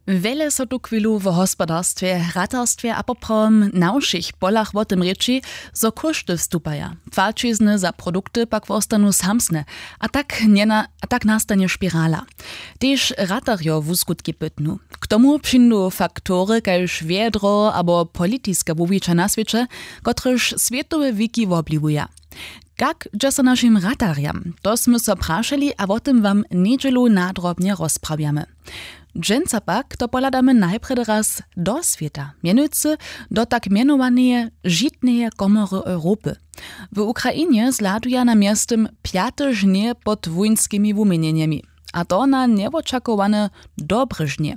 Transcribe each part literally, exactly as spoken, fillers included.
Wjele so tuchwilu wo hospodarstwje, ratarstwje a poprawom na wšěch polach wo tym rěči, zo kóšty wstupaja, płaćizny za produkty pak wostanu samsne, a tak njena- a tak nastanje spirala. Tež ratarjo wuskutki pytnu. K tomu přińdu faktory kaž wjedro abo politiska wuwića na swěće, kotrež swětowe wiki wobliwuja. Kak dźe so našim ratarjam? To smy so prašeli a wo tym wam njedźelu nadrobnje rozprawjamy. Dźensa pak to pohladamy najprjedy raz do swěta, mjenujcy do tak mjenowaneje žitneje komory Europy. W Ukrainje zhladuja na mjeztym pjate žnje pod wójnskimi wuměnjenjemi, a to na njewočakowane dobre žnje.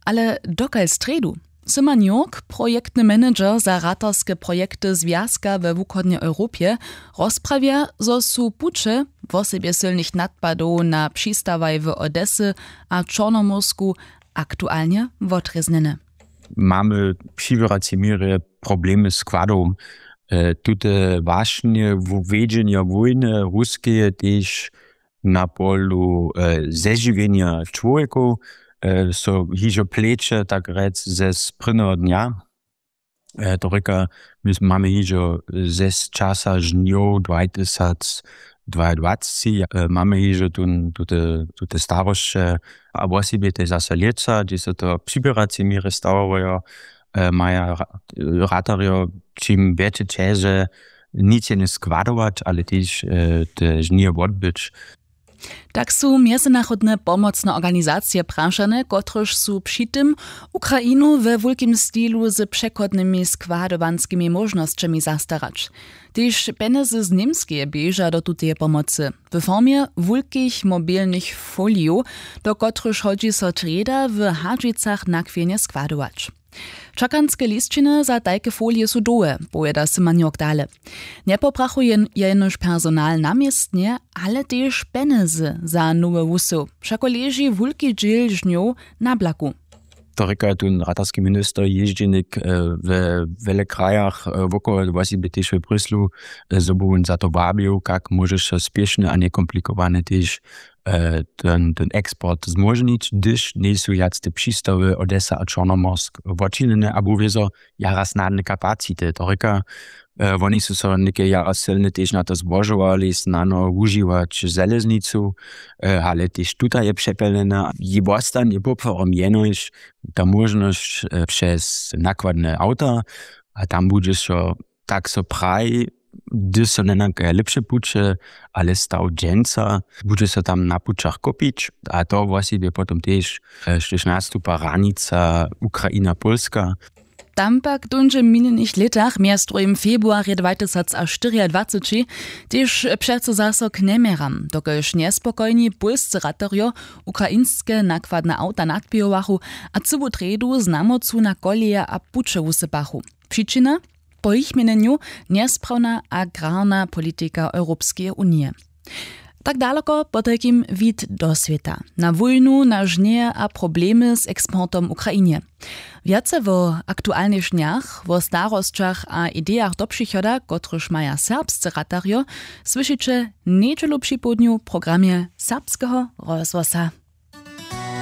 Ale dokal strjedu? Syman Jurk, projektny manager za ratarske projekty zwjazka we wuchodnjej Europje, rozprawja, zo su puće, wosebje sylnych nadpadow na přistawaj w Odesy a Čornomórsku, aktualnje wotrěznjene. Mamy w přiběracej měrje problemy składow. E, tute wašnje wjedźenja wójny ruskeje tež na polu e, zežiwjenja čłowjekow e, so hižo pleće, tak rjec, ze sprědneho dnja. E, to rěka, my s- mamy hižo ze časa žnjow dwatysacdwajadwacci, e, mamy hižo tun- tute, tute starosće, a wosebje tež zaso lětsa, hdźež so to w přiběracej měrje stawajo, e, maja ra- ratarjo čim wjetše ćeže, nic je njeskładować, ale tež e, te žnije wotbyć. Tak su mjezynarodne pomocne organizacije prašane, kotrež su při tym Ukrainu we wulkim stilu z přechodnymi składowanskimi móžnosćemi zastarać. Tež pjenjezy z Němskeje běža do tuteje pomocy w formje wulkich mobilnych folijow, do kotrychž hodźi so trjeda w Hadźicach nakwěnje składować. Čakanske lisćiny za tajke folije su dołhe, powěda Symanjok dale. Njepoprachuje jenož personal na městnje, ale tež pjenjezy za nowy wusył, wšako leži wulki dźěl žnjow na blaku. To rěka tón ratarski minister jězdźenik we wjele krajach wokoło, wosebje tež w bryslu, zo by wón za to wabił, kak móžeš so spěšny a njekomplikowane tež ten ten eksport zmóžnić, hdyž njejsu wjac te přistawy Odesa a Čornomorsk wočinjene abo wězo jara snadne kapacity, to rěka. Woni su so něke jara sylne tež na to zbožowali snano wužiwać železnicu, ale tež tuta je přepjelnjena. Jej wostanje poprawom jenož ta móžnosć přez nakładne awta, a tam budźe so, tak so praji, hdyž so njenakaja lěpše puće, ale staw dźensa budźe so tam na pućach kopić, a to wosebje potom tež, štož nastupa hranica Ukraina Pólska. Tam pak w dónźe minjenych lětach mjez druhim februarje dwatysacštyriadwaceći tež přeco zaso k njeměram, dokelž njespokojni pólscy raterjo ukrainske nakładne awta nadpěhowachu a cyłu trjedu z namocu na koleje a puće wusypachu. Přičina? Po jich měnjenju njesprawnja agrarna politika Europskeje unije. Tak daloko potajkim wid do swěta, na wójnu, na žnjeje a problemy z eksportom w Ukrainje. Wjace wo aktualnych žnjach, wo starosćach a idejach do přichoda, kotryž maja serbscy ratarjo, słyšiće njedźelu připołdnju w programje Serbskeho rozhłosa.